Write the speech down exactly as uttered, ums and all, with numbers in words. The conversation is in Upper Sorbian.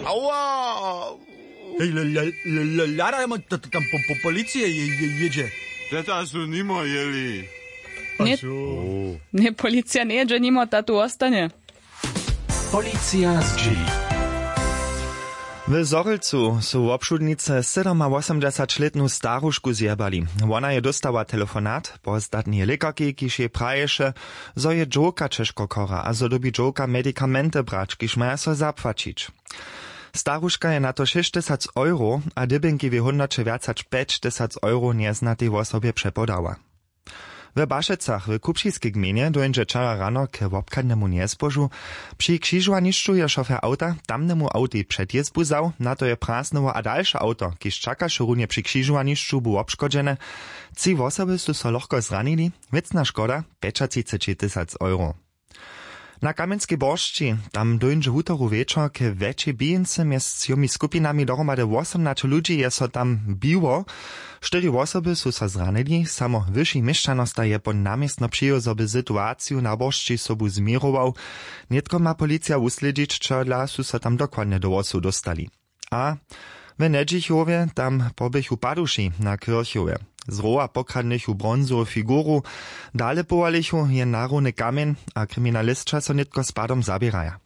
Aua. Hej, ladajmo tam po policije jědźe. Teta su nimo jěli. Nje, policija njejědźe nimo, ta tu wostanje. Policija zdźěli. W zhorjelcu su wobšudnicy sydomawosomdźesaćlětnu starušku zjebali. Wona je dóstała telefonat po statneje lěkarki, kiž jej praješe, zo je dźowka ćežko chora a zo dyrbi dźowka medikamenty brać, kiž maja so zapłaćić. Staruška je na to šěsćtysac euro a dybjenki w hódnoće wjac hač pjećtysac euro njeznatej wosobje přepodała. W Bašecach w Kupšiskej gmejnje dóńdźe wčera rano k wobchadnemu njezbožu. Při křižowanišću je šofer awta tamnemu awtej předjězbu wzał, na to je prasnyło a dalše awto, kiž čakaše runje při křižowanišću, bu wobškodźene. Tři wosoby su so lochko zranili. Wěcna škoda pjećatřiceći tysac euro. Na Kamjenskej Boršći tam dóńdźe wutoru wječor k wjetšej bijence. Mjez třomi skupinami dohromady wosomnaće ludźi je so tam biło. Štyri wosoby su so zranili. Samo wyši měšćanosta je po naměstno přijěł, zo by situaciju na Boršći sobu změrował. Nětko ma policija wuslědźić, čehodla su so tam dokładnje do hłosow dóstali. A w Njedźichowje tam poběchu paduši na Kirchhowje. Z rowa pokradnychu bronzowu figuru, dale powalichu je narowny kamjeń a kriminalisća so nětko z padom zaběraja.